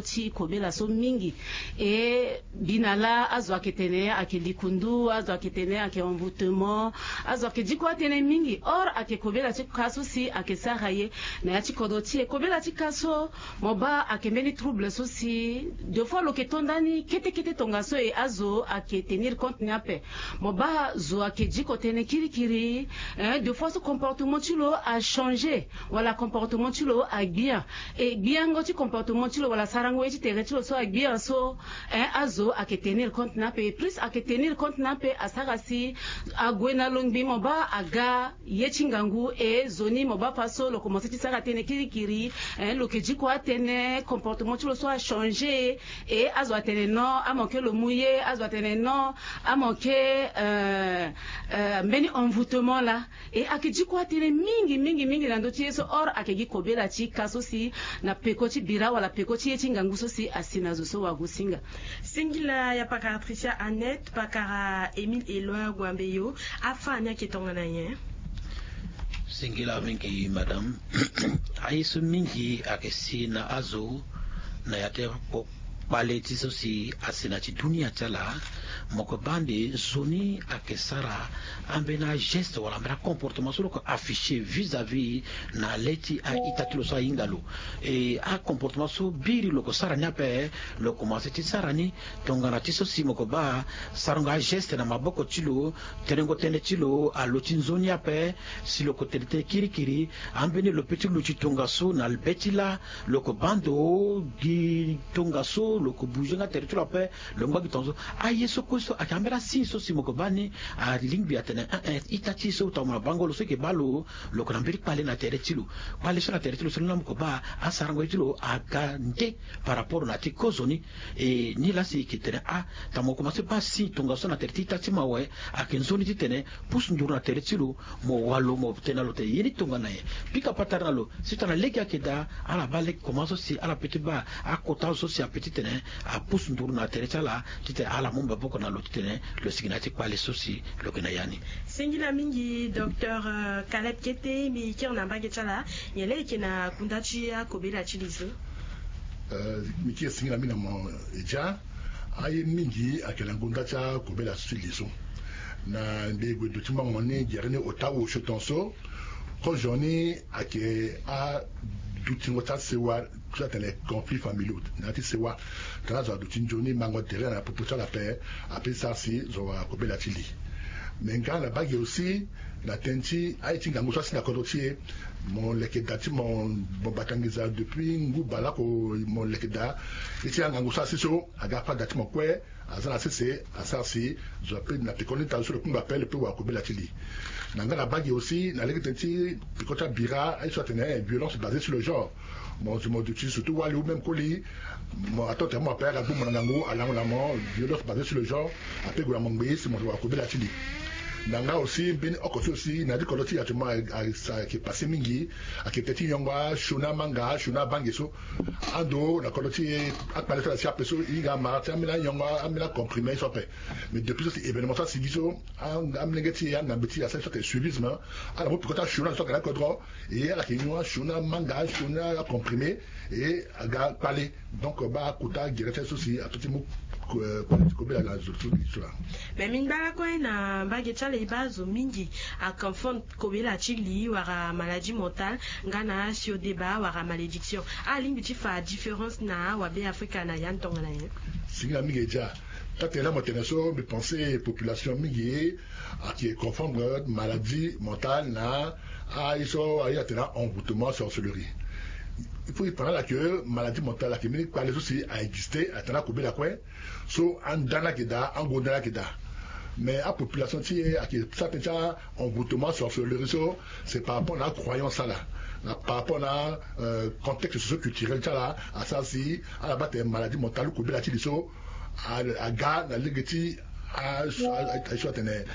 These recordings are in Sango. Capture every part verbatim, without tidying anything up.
ti kobela so mingi. E bi na laa azo ayeke tene ayeke likundu, azo ayeke tene ayeke envoûtement, azo ayeke diko atënë mingi. Or ayeke kobela ti ka so si ayeke sara ye na ya ti kodro ti e. Kobela ti ka so mo baa ayeke mbeni trouble so si deux fois lo yeke to ndani kete kete tongaso e azo ayeke tenir compte ni ape. Mo baa zo ayeke diko tënë kirikiri. Deux fois so comportement ti lo achangé wala comportement ti lo agbia. E gbiango ti comportement ti lo wala sarango ye ti tere ti lo so agbia so, azo ayeke tenir compte ni ape. Plus ayeke tenir compte ni ape asara si ague na longbi mo baa aga ye ti ngangu. E zo ni mo baa fa so lo komanse ti sara tënë kirikiri. Lo yeke diko atënë, comportement ti lo so achangé. E azo atene non, amoke lo mu ye. Azo atene non, amoke mbeni envoûtement laa. E ayeke diko atënë mingi mingi mingi na ndö ti ye so. Or ayeke gi kobela ti ka so si na peko ti bira wala peko ti ye ti ngangu so si asi na zo so wagosinga. Singila ya pakara Tricia Annette, pakara Émile Éloi Guambeyo. Afa ni ayeke tongana nyen? Singila mingi madame. Aye so mingi ayeke si na azo na ya ti kpale ti so si asi na ti dunia ti ala. Mo yeke baa nde nzoni ayeke sara ambeni ageste wala ambeni acomportement so lo yeke affiché vis-à-vis na le ti a-ita ti lo so ahinga lo. E acomportement so biri lo yeke sara ni ape, lo komanse ti sara ni tongana ti so si mo yeke baa sarango ageste na maboko ti lo, terengo tënë ti lo alo ti nzoni ape. Si lo yeke tene tënë kirikiri, ambeni lo pe ti luti tongaso na be ti lâ. Lo yeke baa ndo gi tongaso, lo yeke bouger nga tere ti lo ape. Lo ngba gi tongaso. Aye so kue so ayeke ambeni asigne so si mo yeke baa ni alingbi atene, eh, eh, ita ti e so tongana mo na bango lo so e yeke baa lo. Lo yeke na mbeni kpale na tere ti lo. Kpale so na tere ti lo so ni laa mo yeke baa asarango ye ti lo aga nde par rapport na ya ti kozoni. E ni laa si e yeke tene ah, tongana mo komanse baa signe tongaso na tere ti ita ti mo awe, ayeke nzoni titene pusu nduru na tere ti lo. Mo walo mo tene na lo tene ye ni tongana nyen? Pika patara na lo si tongana lege ayeke daa, ala baa lege komanse so si ala pe ti baa akota azo so si ape titene apusu nduru na tere ti ala titene ala mu maboko na lo titene lo sigi na ya ti kpale so si lo yeke na ya ni. Singila mingi docteur, euh, Caleb Kete, mbi kiri na mbage ti ala, nyen laa e yeke na kunda ti akobela ti li so? Euh, mbi kiri singila mingi na mo, euh, Edia. Aye mingi ayeke na ngonda ti akobela ti li so. Na mbi gue duti mango ni gere ni ota osio tongaso. Kozo ni ayeke adutingo ti asewa, ti atene conflits familiaux na ya ti sewa. Tongana azo aduti nzoni mango tere na popo ti ala ape, ape sara si zo akobela ti li. Me nga na bage aussi, na tënë ti aye ti ngangu so asi na kodro ti e, mo leke daa ti mo, mo bata nginza depuis ngu baleoko, mo leke daa ye ti angangu so asi so aga fade daa ti mo kue. Aza na sese asara si zo ape na peko ni ita so lo kungba ape lo pe wara kobela ti li. Na nga na bage aussi na lege tënë ti peko ti abira aye so atene violence basée sur le genre. Mo zo mo duti surtout wali ou même koli, mo ato tene mo ape aga gbu mo na ngangu, alango na mo, violence basée sur le genre. Ape gue na mo ngbe si mo wara kobela ti li. Na nga aussi mbeni oko ti aussi na ya ti kodro ti e actuellement ayeke passé mingi, ayeke tënë ti nyongo asioni amanga, asioni abange so. Ando na kodro ti e akpale so ala si ape so e hinga amara ti ambeni anyongo, ambeni acomprimé so ape. Mais depuis so si événement so asigi so, amolenge ti e, angambe ti e asara so atene suivisme. Ala mu peko ti asioni azo so aga na kodro. E ala yeke nyon asioni amanga, asioni acomprimé. E aga kpale. Donc baa kota gere ti aye so si ato ti mu, euh, kobela na zo so. Mais mbi ngba lakue na mbage ti ala e baa zo mingi aconfondre kobela ti li wala maladie mentale nga na asiodeba wala malédiction. Alingbi ti fa différence na awabe Afrika na ya ni tongana nyen? Singila mingi Edia. Taa tene laa mo tene so mbi pensé population mingi ayeke confondre maladie mentale na aye so aye atene envoûtement, sorcellerie. Il faut e fa na ala que maladie mentale ayeke mbeni kpale so si a existé atene akobela kue. So anda ni ayeke daa, ango nda ni ayeke daa. Mais apopulation ti e ayeke sara tënë ti a-envoûtement, sorcellerie so, c'est par rapport na acroyance ala, na par rapport na, euh, contexte socio-culturel ti ala asara si ala baa tene maladie mentale ou kobela ti li so a, aga na lege ti a, a, a, so atene,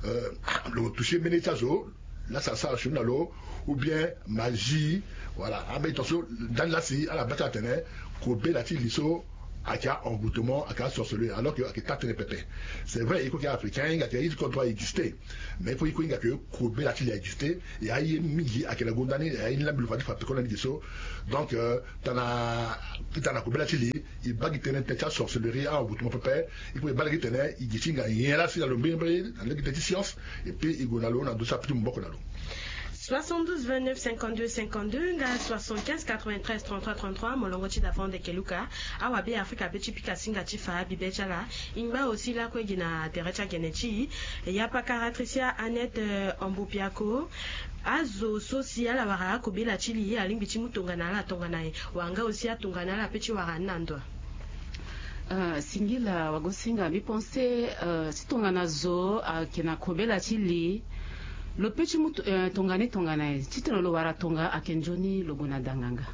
euh, lo touché mbeni ti azo, laa si asara sioni na lo, ou bien magie. Voilà, ambeni tongaso ndani laa si ala baa ti atene kobela ti li so ayeke a-envoûtement, ayeke a-sorcellerie, alors que ayeke taa tënë pepe. C'est vrai, e ko ayeke africain, e hinga ayeke e ti kodro a existe. Mais e ko e ko e hinga ayeke kobela ti li a existe. E aye mingi ayeke na gonda ni, e aye ni lambi lo fa ti fa peko na ni ge so. Donc, euh, tana, tana kobela ti li, e baa gi tënë tënë ti a-sorcellerie, a-envoûtement pepe. E ko e baa lege tene e gi ti hinga nyen laa si na lo mbirimbiri na lege tënë ti science. Et puis e gue na lo na ndo so ape ti maboko na lo. Soixante-douze vingt-neuf cinquante-deux cinquante-deux nga soixante-quinze quatre-vingt-treize trente-trois trente-trois, molongo ti davant ndeke luka. Awa be afrika be ti pika singa ti fa bibe ti ala. E ngba aussi lakue gi na tere ti agene ti e. Ya pakara Tricia Annette, euh, Ambopiako. Azo so si ala wara akobela ti li alingbi ti mu tongana ala tongana nyen? Wala nga aussi atongana ala pe ti wara ni na ndo? Ah, singila wagosinga, mbi pense, euh, si tongana zo ayeke na kobela ti li, lo pe ti mu to-, euh, tongana ni tongana nyen? Titene lo wara tonga ayeke nzoni lo gue na danganga.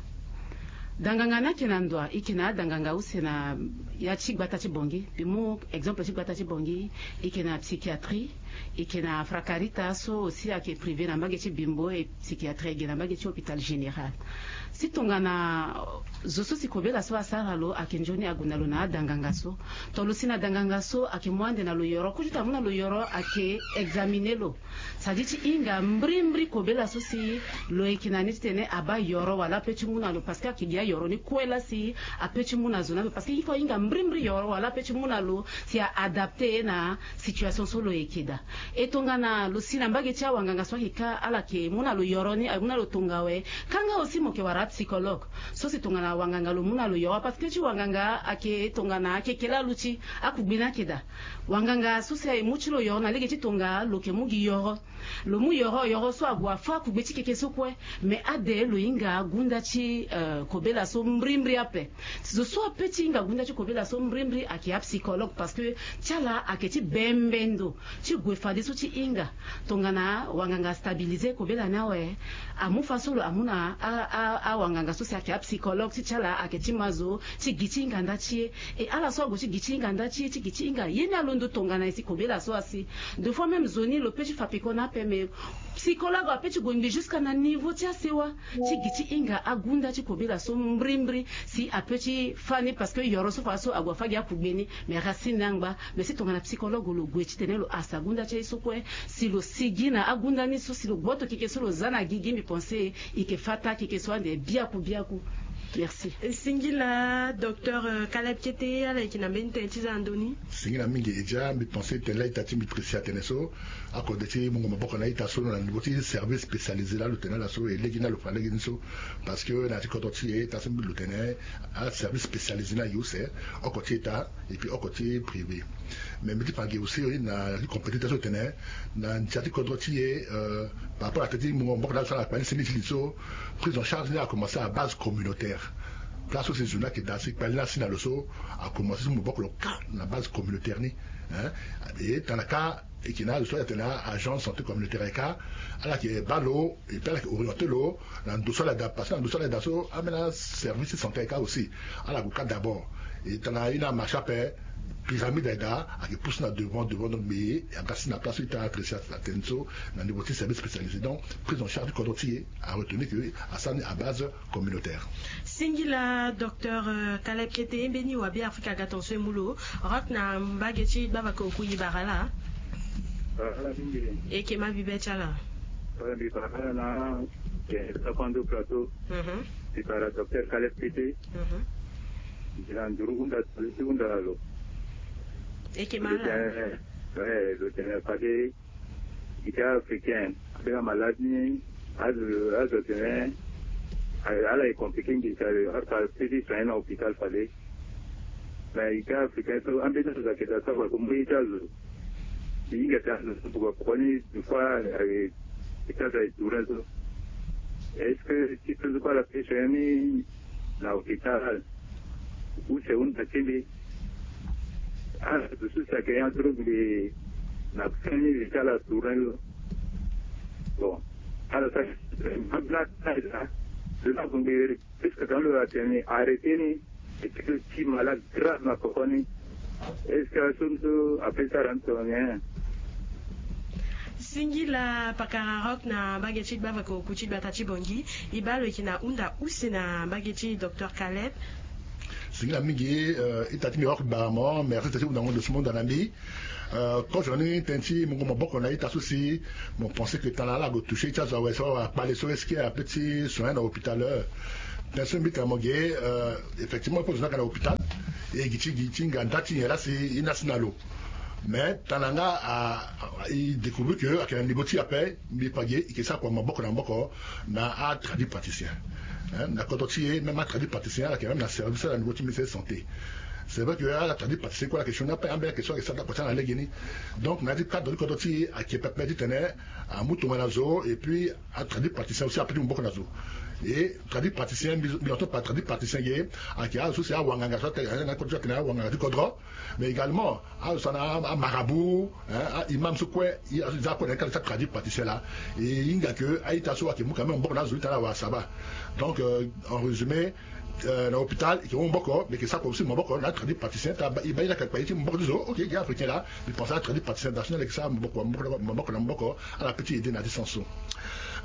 Danganga ni ayeke na ndo, e yeke na adanganga use na ya ti gbata ti Bangui. Mbi mu exemple ti gbata ti Bangui, e yeke na psychiatrie, e yeke na Fracarita so aussi ayeke privé na mbage ti Bimbo, et psychiatrie e yeke na mbage ti hôpital général. Si tongana zo so si kobela so asara lo ayeke nzoni ague na lo na adanganga so. Tongana lo si na danganga so ayeke mu ande na lo yoro, kutu ti amu na lo yoro ayeke examiner lo. Sa di ti hinga mbrimbri kobela so si lo yeke na ni titene abaa yoro wala ape ti mu na lo, parce que ayeke gi ayoro ni kue laa si ape ti mu na zo ni ape, parce que il faut ahinga mbrimbri yoro wala ape ti mu na lo si a adapter na situation so lo yeke daa. E tongana lo si na mbage ti awanganga so ayeke ka, ala yeke mu na lo yoro ni, amu na lo tonga awe. Kanga aussi mo yeke wara apsychologue so si tongana wanganga lo mu na lo yoro, parce que ti wanganga ayeke tongana ayeke ke laa lo ti akugbe ni ayeke daa. Wanganga so si aye mu ti lo yoro na lege ti tonga lo yeke mu gi yoro. Lo mu yoro, yoro so ague afâ akugbe ti keke so kue. Mais ade lo hinga gunda ti, euh, kobela so mbrimbri ape. Zo so ape ti hinga gunda ti kobela so mbrimbri ayeke apsychologue, parce que ti ala ayeke ti bembe ndo ti gue fadeso ti hinga. Tongana wanganga stabiliser kobela ni awe, amu fâ so lo amu na a, a, awanganga so si ayeke apsychologue ti ti ala ayeke ti ma zo ti gi ti hinga nda ti e. E ala so ague ti gi ti hinga nda ti e, ti gi ti hinga ye ni alondo tongana nyen si kobela so asi. Deux fois même zo ni lo pe ti fa peko na ape, mais psychologue ape ti gue ngbi jusqu'à na niveau ti asewa ti gi ti hinga agunda ti kobela so mbrimbri si ape ti fâ ni, parce que yoro so fa so ague afâ gi akugbe ni, mais racine ni angba. Mais si tongana psychologue lo gue titene lo hasa gunda ti aye so kue, si lo sigi na agunda ni so, si lo gboto keke so lo za na gigi, mbi pense e yeke fâ taa keke so ande biaku biaku. Merci. E singila docteur, euh, Caleb Kete, ala yeke na mbeni tënë ti za na ndö ni? Singila mingi Edia, mbi pense tene la ita ti mbi Tricia atene so, akode ti mungo maboko na ita so na niveau ti service spécialisé la lo tene ala so, e lege ni la lo fa lege ni so. Parce que na ya ti kodro ti e ita so mbi lo tene aservice spécialisé ni aye use, oko ti ita et puis oko ti privé. Mais mbi ti fa ge aussi na ti compétiteur so tene na ndia ti kodro ti e, euh, par rapport na tënë ti mungo maboko na ala so na kpali seni ti li so, prise en charge ni a commencé à base communautaire. Place so si zo ni ayeke daa si kpali ni asi na lo so, a commencé so maboko lo ka na base communautaire ni, hein. Et tana ka e yeke na azo so ayeke tene agent santé communautaire ayeke ka, ala yeke baa lo et puis ala yeke orienter lo na ndo so ala yeke daa, parce que na ndo so ala yeke daa so ambeni aservice ti santé ayeke ka aussi. Ala gue ka d'abord. E tana ye ni amarché ape, pyramide ayeke daa, ayeke pousse na devant devant, donc mbi aga si na place so ita Tricia atene so, na niveau ti service spécialisé. Donc prise en charge ti kodro ti e a retenir que asara ni à base communautaire. Singila docteur, euh, Caleb Kete, mbeni wa Be Afrika aga tonso e mu lo. Rock na mbage ti gbavaka oku, e bara laa? Bara laa mingi. E yeke ma bibe ti ala? Wala mbi bara laa na, eh, Sakuando Plateau. Mhm. Mbi bara docteur Caleb Kete. Mhm. Mbi na nduru hunda, ti hunda na lo. E yeke ma laa? Eh, eh, lo tene fade ita africain ambeni amalade ni, azo, azo tene ala e compliqué nginza, afa feti soigné na hôpital fade. Mais ita africain so ambeni azo ayeke daa so afa so mu ye ti azo. E hinga tene azo so buka koko ni deux fois, eh, ita azo aye tourné so. Est-ce que ti so so kue ala feti soigné ni na hôpital? Use hunda ti mbi. Ala dusu si ayeke ya so lo mbi na fin ni li ti ala tourné lo. Bon, ala sara, ala sara, lo na mbi, puisque quand lo atene arrêté ni, et que ti malade grave na koko ni. Est-ce que aso ni so ape sara ni tongana nyen? Singila pakara Rock na mbage ti gbavaka oku ti gbata ti Bangui. E baa lo yeke na hunda use na mbage ti docteur Caleb. Singila mingi. Ita ti mbi oko gbara mo, merci ti ti hunda mo ndo so mo hunda na mbi. Kozo ni tënë ti mungo maboko na ita so si mo pense que tana ala ague toucher ti azo awe so akpale so est-ce que ape ti soin na hôpital? Tënë so mbi tene mo ge. Effectivement, ape zo ni aga na hôpital, e gi ti gi ti ngangu ti nyen laa si e na si na lo. Mais tana nga a, a, e découvrir que ayeke na niveau ti e ape, mbi pa ge, e yeke sara kua maboko na maboko na atradi praticien. Hein, na kodro ti e, même atradi praticien ala yeke même na service ala niveau ti ministère de santé. C'est vrai que atradi praticien kue ala yeke sioni ape, ambeni ayeke so ayeke sara da kua ti ala na lege ni. Donc na ya ti cadre ti kodro ti e ayeke pepe titene amu tongana zo, et puis atradi praticien aussi ape ti maboko na zo. Et tradi praticien, mbi, mbi entend par tradi praticien ge, ayeke azo so si awanganga so atene, na kodro ti atene awanganga ti kodro. Mais également azo so na amarabout, hein, a-imam so kue, azo e za kue na ita ti atradi praticien laa. E hinga que a-ita so ayeke mu quand même maboko na azo ita laa awara saba. Donc, euh, en résumé, euh, na hôpital e yeke mu maboko, mais e yeke sara kua aussi maboko na atradi praticien. Tara e baa ye ni ayeke kpa ye ti maboko ti zo. Ok, ge africain laa, mbi pense atradi praticien national ayeke sara maboko, maboko, maboko na maboko, ala peut ti aider na ya ti sens so.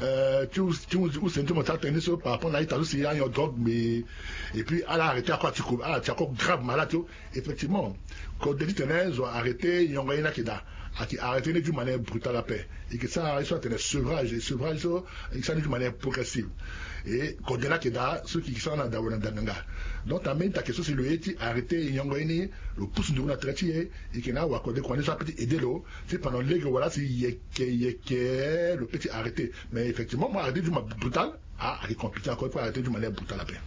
Euh, ti hu, ti hu, use ni ti mo ti atene ni so par rapport na a-ita so si anyon drogue, mais et puis ala arrêter ako, ati ko, ala ti ako grave malade so. Effectivement, kode titene zo arrêter nyongo ye ni ayeke daa. Ayeke arrêter ni d'une manière brutale ape. E yeke sara ye so atene sevrage, et sevrage so e yeke sara ni d'une manière progressive. Et kode ni ayeke daa, so e yeke sara na dawa na ndanganga. Donc ambeni ayeke so si lo ye ti arrêter nyongo ye ni, lo pusu nduru na tere ti e, e yeke na awakode kua ni so ape ti aider lo, ti pendant lege wala si yeke yeke lo peut ti arrêter. Mais effectivement mo arrêter d'une manière brutale, ah, ayeke compliqué encore, il faut arrêter d'une manière brutale ape.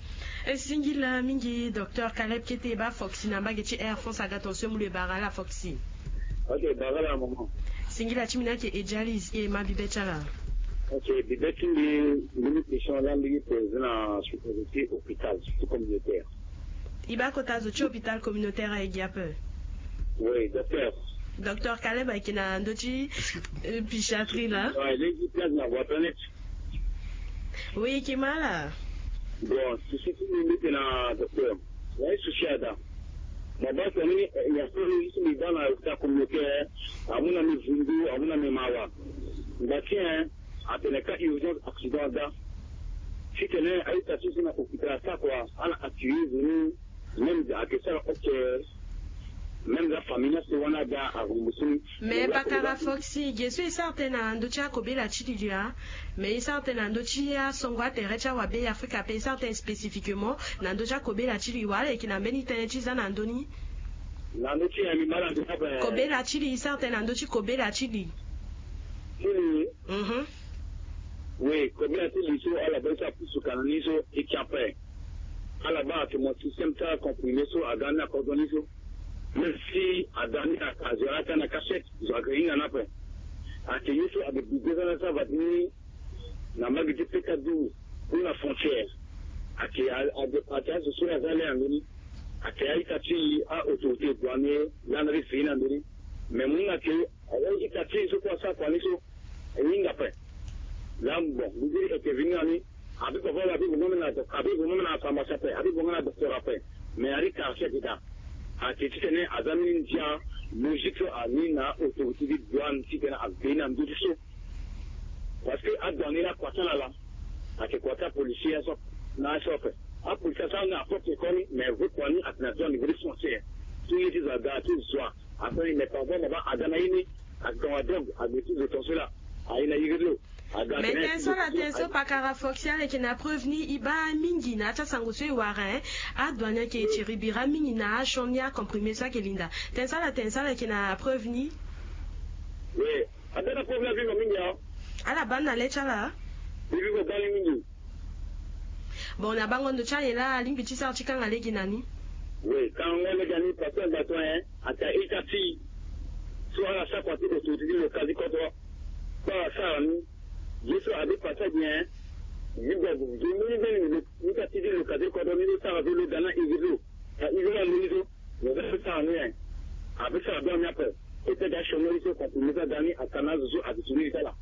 E singila mingi docteur Caleb Kete, e baa Foxy na mbage ti Air France aga ton so e mu lo, e bara ala Foxy. Ok, bara ala maman. Singila ti mbi ni ayeke Edialis, e ma bibe ti ala. Ok, bibe ti mbi, mbi ni question laa mbi yeke poser na supposé ti hôpital, surtout communautaire. E baa kota zo ti hôpital communautaire aye gi ape? Oui, docteur. Docteur Caleb ayeke na ndö ti, euh, psychiatrie laa. Ouais, lege ti place na voie planète. Oui, e yeke ma ala. Bon, souci ti mbi mbi tene na docteur, na ye souci ada. Mo baa tene ni, eh, ya so ye ti mbi baa na hôpital communautaire, amu na mbi vundu, amu na mbi mawa. Ngba ti en atene ka urgence accident ada. Titene a-ita ti so na hôpital asara kua, ala accueillir zo ni. Même ayeke sara ok. Même la famille na so wani aga arembourser ni. Mais pakara Foxy, ge so e sara tënë na ndö ti akobela ti li laa. Mais e sara tënë na ndö ti asongo atere ti awabe Afrika ape, e sara tënë spécifiquement na ndö ti akobela ti li, wala e yeke na mbeni tënë ti za na ndö ni? Na ndö ti ya mbi ma ala nzoni ape. Kobela ti li, e sara tënë na ndö ti kobela ti li. Ti li. Mhm. Oui, kobela ti li so ala baa so apusu ka na ni so e ti ape. Ala baa atene mo système ti acomprimé so aga ni na kodro ni so. Même si aga ni, azo ala ka na cachette, zo aga hinga ni ape. Ayeke ye so ayeke bi deux ans na sara va ti ni na mbage ti P K douze ou na frontière. Ayeke a, a, ayeke azo so aza le na ndö ni. Ayeke a-ita ti a-autorité douanier laa na ti fini na ndö ni. Mais mo hinga ke a-ita ti so kue asara kua ni so e hinga ape. Laa bon, mbi di e yeke vini na ni. Abi papa la abi bongo na doc-, abi bongo na pharmacie ape, abi bongo na docteur ape. Mais ari quartier ayeke daa. Ayeke titene aza mbeni ndia logique so ani na autorité ti douane titene agbeni na ndö ti so. Parce que adouane ni akua ti ala laa ayeke kua ti apolisier so na aso ape. Apolisier asara ni na propre corps ni, mais vrai kua ni ayeke na douane, vrai frontière. Ti ye ti zo aga ti zo a. Asara ni mais parfois mo baa aga na ye ni, atonga drogue, agbe ti zo tonso laa. Aye na iri ti lo. Mais tënë so ala tene so pakara Foxy, ala yeke na preuve ni, e baa mingi na ya ti asango so e wara, hein. Adouane ayeke tiri bira mingi na asioni acomprimé so ayeke linda. Tënë so ala tene so ala yeke na preuve ni? Oui. Atene preuve ni avivo mingi, hein. Ala baa ni na le ti ala. E vivo baa ni mingi. Bon, na bango ndo ti aye laa alingbi ti sara ti kanga lege na ni. Oui, kangango lege na ni parce que na bato, hein, ata ita ti so ala sara kua ti autorité ti local ti kodro. Baa asara ni. Ye so a dépassé bien. Ni bia zo mbeni mbeni lo, ni ka ti ti lo ka ti kodro ni lo sara zo lo ga na iri lo. Ka iri lo ando ni so. Lo ga so sara ni, hein. A pe sara bien ni ape. E pe ga sioni ni so comprimé so aga ni aka na azo so a ti ti ni ti ala.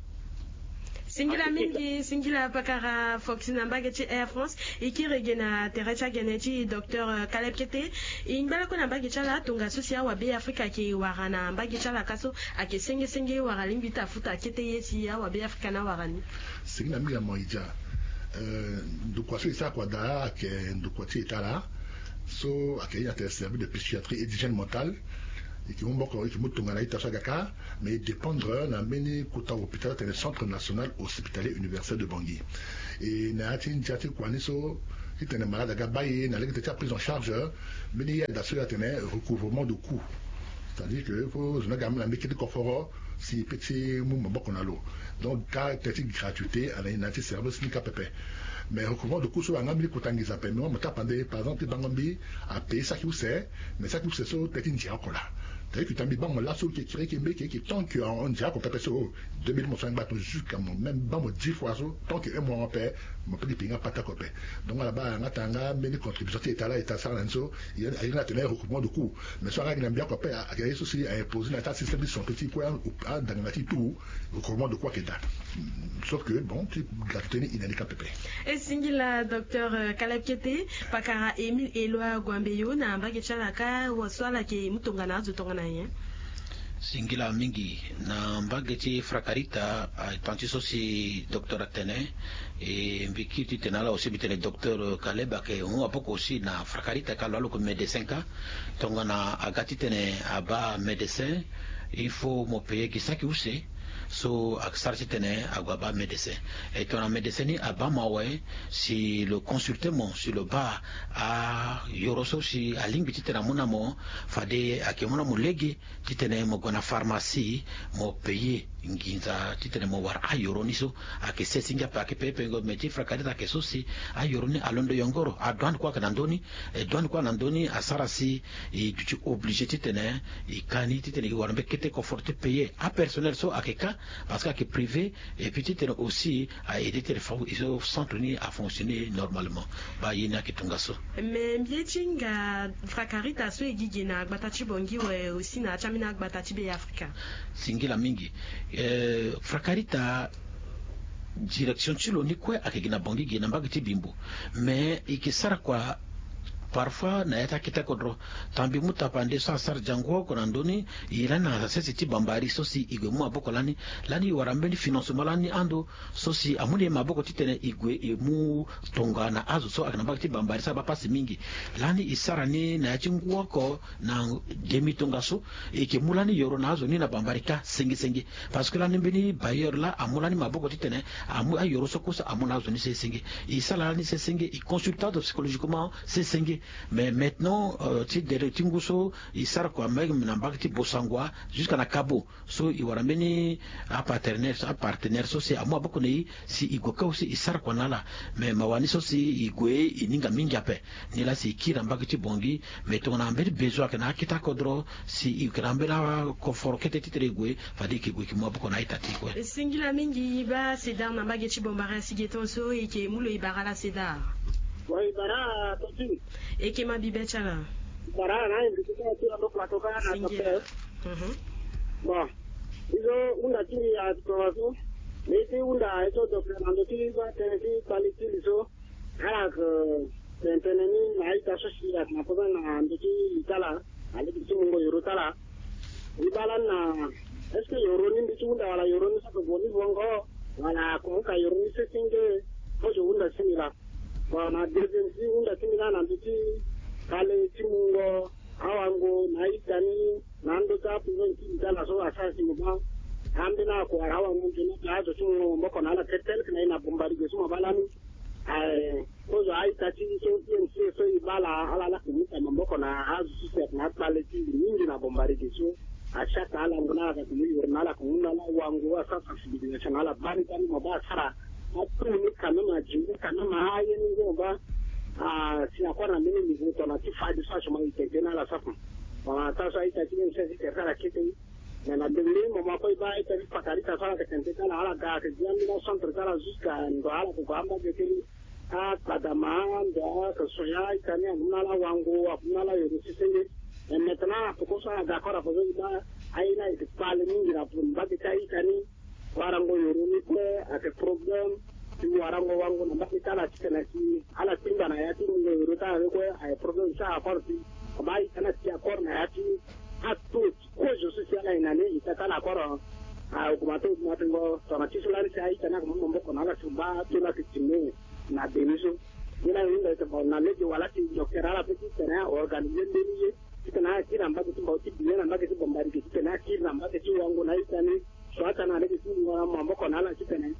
Singila mingi, singila pakara Foxy na mbage ti Air France. E kiri ge na tere ti agene ti docteur, euh, Caleb Kete. E ngba lakue na mbage ti ala, tongaso si awabe Afrika ayeke wara na mbage ti ala ka so, ayeke senge senge wala alingbi ti afuta kete ye si awabe Afrika ni awara ni? Singila mingi na mo e dia. Euh, ndokua so e sara kua daa ayeke ndokua ti e ti ala. So ayeke ye na tene service de psychiatrie et d'hygiène mentale. E yeke mu maboko, e yeke mu tongana ita so aga kâ. Mais e dépendre na mbeni kota hôpital atene Centre National Hospitalier Universitaire de Bangui. E na ya ti ndia ti kua ni so, titene malade aga baa e na lege ti aprise en charge, mbeni yada so e atene recouvrement de coût. C'est-à-dire que faut zo ni aga mu na mbeni kete koforo si e pe ti mu maboko na lo. Donc kâ tene ti gratuité ala na ya ti service ni kâ pepe. Mais recouvrement de coût so ayeke nga mbeni kota nginza ape. Mais mo tapande par exemple ti bango mbi apaye saki use. Mais saki use so tene ti ndia oko laa. Tene yeke ota mbi baa mo laso e yeke kiri e yeke mbeni e yeke tant que ahon ndia oko pepe so, deux mille mo so angba ton jusqu'à mo même baa mo dix fois so tant que un mois ape, mo pe gi paye nga pata oko ape. Donc ala baa nga tanga mbeni contribution ti état laa état asara na ni so. Aye nga atene recouvrement de coût. Mais so aga gi na mbi oko ape, ayeke ye so si a imposer na ya ti asystème ti santé ti kue, andangana ti e tout. Recouvrement de coût ayeke daa. Sauf que bon ti gratuité ni e na ni kâ pepe. E singila docteur Caleb Kete. Pakara Émile Éloi Guambeyo na mbage ti ala kâ, wa so ala yeke mu tongana azo tongana nyen? Singila mingi. Na mbage ti Frakarita, atanti so si docteur atene, e mbi kiri titene ala aussi mbi tene docteur Caleb ayeke hon maboko aussi na Frakarita kâ lo alo yeke médecin kâ. Tongana aga titene abaa médecin, il faut mo payer gi saki use. So asara titene ague abaa médecin. E tongana médecin ni abaa mo awe, si lo consulte mo si lo baa ayoro so si alingbi titene amu na mo, fade ayeke mu na mo lege titene mo gue na pharmacie, mo payer nginza titene mo wara ayoro ni so. Ayeke se singe ape, ayeke pepe ngo. Mais ti Frakarita ayeke so si ayoro ni alondo yongoro. Adouane kue ayeke na ndö ni. E douane kue na ndö ni asara si e duti obligé titene e ka ni titene e wara mbeni kete koforo ti payer apersonnel so ayeke kâ, parce que ayeke privé. Et puis titene aussi a aider titene fa e so centre ni afonctionner normalement. Baa ye ni ayeke tongaso. Mais mbi ye ti hinga Frakarita so e gi ge na gbata ti Bangui awe aussi na ya ti ambeni agbata ti Be Afrika. Singila mingi. Frakarita, direction ti lo ni kue ayeke gi na Bangui ge na mbage ti Bimbo. Mais e yeke sara kua parfois na ya ti akete kodro. Tongana mbi mu tapande so asara jango oko na ndö ni, e lani na sese ti Bambari so si e gue mu maboko lani. Lani e wara mbeni financement lani ando so si amu na e maboko titene e gue e mu tongana azo so ayeke na mbage ti Bambari so abaa pasi mingi. Lani e sara ni na ya ti ngu oko na demi tongaso. E yeke mu lani yoro na azo ni na Bambari kâ senge senge. Parce que lani mbeni bailleur laa amu lani maboko titene amu ayoro so kue so amu na azo ni sesenge. E sara lani sesenge, e consulte azo psychologiquement sesenge. Mais maintenant ti dere ti ngu so e sara kua même na mbage ti Bossangoa jusqu'à na Kabo. So e wara mbeni apartenaire so, apartenaire so si amu maboko na e si e gue kâ aussi e sara kua na ala. Mais mawa ni so si e gue e hinga mingi ape. Nilaa si e kiri na mbage ti Bangui. Mais tongana mbeni besoin ayeke na akete akodro, si e yeke na mbeni akoforo kete titene e gue, fade e yeke gue e yeke mu maboko na a-ita ti e kue. Singila mingi. Baa Cédar na mbage ti Bambara si ge ton so e yeke mu lo e bara ala Cédar. Bon, e bara ala Totine. E yeke ma bibe ti ala. E bara ala na e mbi ti kâ ti ando plateau kâ na docteur. Bon, e so hunda ti mbi ayeke tongaso. Mbi ye ti hunda e so docteur na ndö ti baa tënë ti kpale ti li so. Ala yeke tene tënë ni na a-ita so si ayeke na problème na ndö ti li ti ala, na lege ti mungo yoro ti ala. E baa lani na est-ce que yoro ni mbi ti hunda wala yoro ni so ayeke vo ni vongo, wala akomo ka yoro ni sesenge? Kozo hunda ti mbi laa. Bon, na deuxième ti hunda ti mbi laa na ndö ti kpale ti mungo awango na a-ita ni na ndö ti aproblème ti li ti ala so asara si mo baa ambeni ako wala awango nzoni ape azo ti mo maboko na ala tel que na e na Bombardier so mo baa lani. Ae kozo a-ita ti so I M C so e baa ala, ala laa ke mu ta maboko na azo so si ayeke na akpale ti li mingi na Bombardier so. Achaka ala ngu na ala ka ke mu yoro na ala ke mu na ala wango asara sensibilisation na ala bani bani mo baa asara ato ni quand même, aji ni quand même, aye ni ngu mo baa. Ah, si na kue na mbeni niveau tongana ti fade so azo mo e tene tënë na ala safu. Tongana taa so a-ita ti I M C si tere ti ala kete. Me na dengbe mo ma kue e baa a-ita ti Fakarita so ala yeke tene tënë ti ala, ala ga ayeke gi ambeni acentre ti ala jusqu'à ndo ala yeke gue ambage ti ni. Akpadama ndo ala yeke soigner a-ita ni, amu na ala wango, amu na ala yoro sesenge. Mais maintenant na peko so ala ga kue na faso e baa aye ni ayeke kpale mingi na mbage ti a-ita ni. Warango yoro ni kue ayeke problème. Ti warango wango na mbage ti ala titene si ala tingba na ya ti mungo yoro ti ala ni kue ayeke problème ti ala encore. Ti ama a-ita ni ati encore na ya ti ato ti kozo so si ala yeke na ni e ta ti ala encore. Augmente augmente ngo tongana ti so lani si a-ita ni ayeke mu maboko na ala si baa ato ni ayeke ti mu na demi so. Ye na hinda ete bon na lege wala ti docteur ala pe ti tene a organiser mbeni ye ti tene akiri na mbage ti mbao ti biye na mbage ti Bombari ge ti tene akiri na mbage ti wango na ita ni. So ata na lege ti ngona maboko na ala ti tene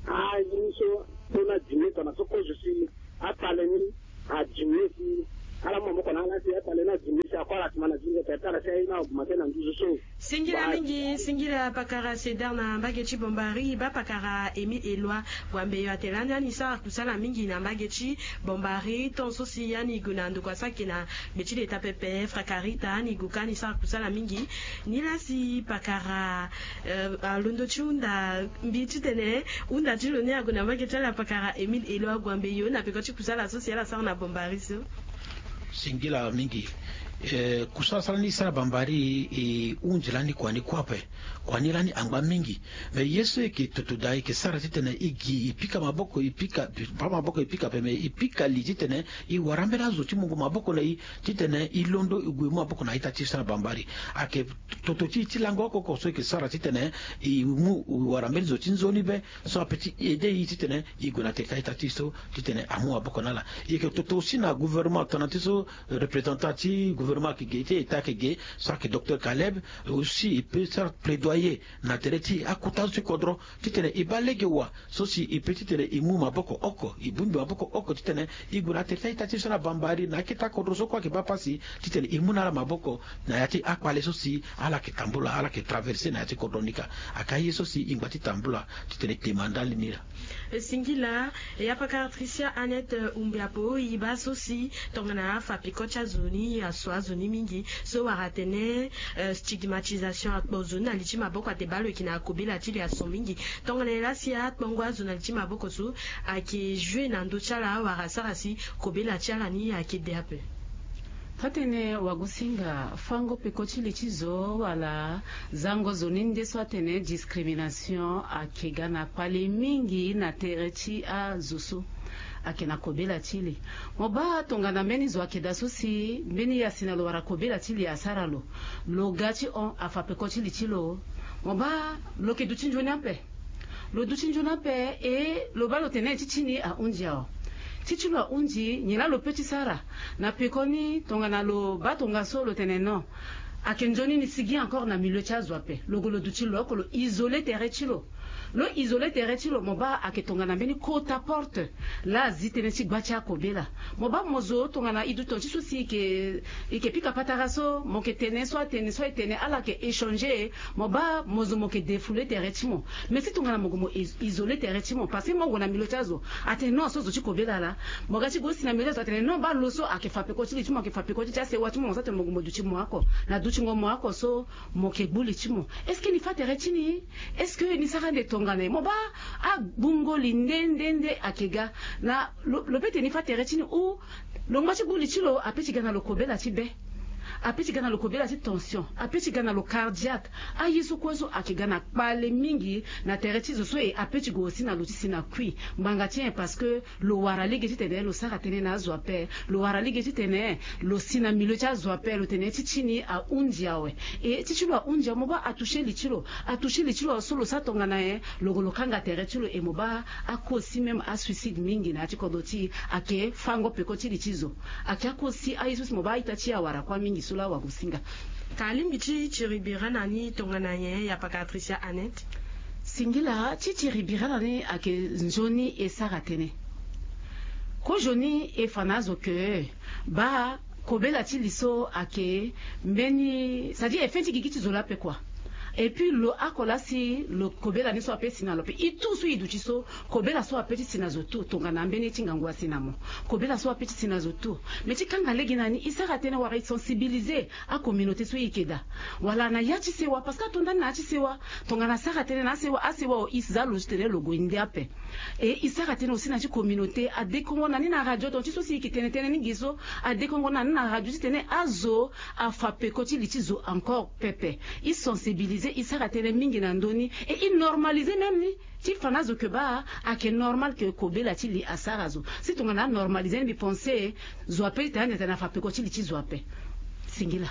aye ni so so na dimi tona so kozo si atale ni adimi si ala maboko na ala si atale ni adimi si akua ala tima na dimi tene tala si aye ni augmenter na nduzu so. Singila mingi, singila pakara Cedar na mbage ti Bombari, baa pakara Émile Eloi Guambeyo atene lani ani sara kusala mingi na mbage ti Bombari, tant so si ani gue na ndokua so ayeke na gbe ti leta pepe, Frakarita, ani gue ka ani sara kusala mingi. Nilaa si pakara, eh, alondo ti hunda mbi titene hunda ti lo ni ague na mbage ti ala pakara Émile Eloi Guambeyo na peko ti kusala so si ala sara na Bombari so. Singila mingi. Eh, kusala so lani e sara Bombari, e hunzi lani kua ni kue ape. Kua ni lani angba mingi. Me ye so e yeke toto daa e yeke sara titene e gi e pika maboko e pika, pika maboko e pika ape, me e pika li titene e wara ambeni azo ti mungo maboko na e titene e londo e gue e mu maboko na a-ita ti e so na Bombari. Ayeke toto ti e ti lango oko oko so e yeke sara titene e mu wara mbeni zo ti nzoni be so ape ti aider e titene e gue na tere ti a-ita ti e so titene amu maboko na ala. E yeke toto aussi na gouvernement tongana ti so représentant ti gouvernement ayeke ge ti État ayeke ge, so ayeke docteur Caleb, aussi e peut sara plaidoyer na tere ti akota zo ti kodro titene e baa lege wa so si e peut titene e mu maboko oko, e bongbi maboko oko titene e gue na tere ti a-ita ti e so na Bombari na akete akodro so kue ayeke baa pasi titene e mu na ala maboko na ya ti akpale so si ala yeke tambula, ala yeke traverser na ya ti kodro ni ka. Ayeke aye so si e ngba ti tambula titene e te ma ndali ni laa. E singila, e ya pakara Tricia Annette, eh, Umbiapo, e baa so si tongana afa peko ti azo ni aso azo ni mingi so wara atene, eh, stigmatisation, akpo zo ni na li ti maboko, ate baa lo yeke na kobela ti li aso mingi. Tongana nyen laa si akpongo azo na li ti maboko so ayeke jouer na ndö ti ala wala asara si kobela ti ala ni ayeke de ape? Taa-tënë wagosinga, fango peko ti li ti zo wala zango zo ni nde so atene discrimination ayeke ga na kpale mingi na tere ti azo so ayeke na kobela ti li. Mo baa tongana mbeni zo ayeke daa so si mbeni ya si na lo wara kobela ti li asara lo, lo ga ti hon afa peko ti li ti lo, mo baa lo yeke duti nzoni ape. Lo duti nzoni ape, e lo baa lo tene ti ti ni ahunzi awe. Ti ti lo ahunzi, nyen laa lo peut ti sara? Na pekoni tongana lo baa tongaso lo tene non, ayeke nzoni ni sigi encore na milieu ti azo ape, lo gue lo duti lo oko, lo isoler tere ti lo. Lo isoler tere ti lo, mo baa ayeke tongana mbeni kota porte laa azi tënë ti gba ti akobela. Mo baa mo zo tongana e duti ton ti so si e yeke, e yeke pika patara so, mo yeke tene so atene so e tene ala yeke échanger, mo baa mo zo mo yeke défouler tere ti mo. Mais si tongana mo gue mo is-, isoler tere ti mo, parce que mo gue na milieu ti azo, atene non, so zo ti kobela laa. Mo ga ti gue si na milieu ti azo, atene non, baa lo so ayeke fa peko ti li ti mo, ayeke fa peko ti ti asewa ti mo, mo so atene mo gue mo duti mo oko. Na dutingo mo oko so, mo yeke gbu li ti mo. Est-ce que ni fâ tere ti ni? Est-ce que ni sara ande tongana nyen? Mo baa agbungo li nde nde nde ayeke ga. Na lo, lo peut ti ni fâ tere ti ni ou lo ngba ti gbu li ti lo ape ti ga na lo kobela ti be. Ape ti ga na lo kobela ti tension. Ape ti ga na lo cardiaque. Aye so kue so ayeke ga na kpale mingi na tere ti zo so, e ape ti gue aussi na lo ti si na kui. Ngbanga ti nyen? Parce que lo wara lege titene lo sara tënë na azo ape. Lo wara lege titene lo si na milieu ti azo ape, lo tene ti ti ni ahunzi awe. E ti ti lo ahunzi awe, mo baa atoucher li ti lo. Atoucher li ti lo so lo sara tongana nyen? Lo gue lo kanga tere ti lo. E mo baa akosi même asuicide mingi na ya ti kodro ti e ayeke fango peko ti li ti zo. Ayeke akosi aye so si mo baa a-ita ti e awara kue mingi so laa wagosinga. Ka alingbi ti tiri bira na ni tongana nyen, ya pakara Tricia Annette? Singila, ti tiri bira na ni ayeke nzoni e sara tënë. Kozoni e fa na azo ke baa kobela ti li so ayeke mbeni, c'est-à-dire e fê ti gigi ti zo laa ape kua. Et puis lo oko laa si lo kobela ni so ape si na lo ape. E tout so e duti so, kobela so ape ti si na zo tout, tongana mbeni ye ti ngangu asi na mo. Kobela so ape ti si na zo tout. Mais ti kanga lege na ni, e sara tënë wala e sensibiliser acommunauté so e yeke daa. Wala na ya ti sewa, parce que ato ndani na ya ti sewa. Tongana asara tënë na asewa, asewa o, e za lo titene lo gue nde ape. E e sara tënë aussi na ti communauté, adekongo na ni na radio, ton ti so si e yeke tene tënë ni gi so, adekongo na ni na radio titene azo afa peko ti li ti zo encore pepe. E sensibiliser, e sara tënë mingi na ndö ni, e e normaliser même ni. Ti fa na azo ke baa ayeke normal ke kobela ti li asara zo. Si tongana anormaliser ni, mbi pense zo ape ti tene ande tene afa peko ti li ti zo ape. Singila.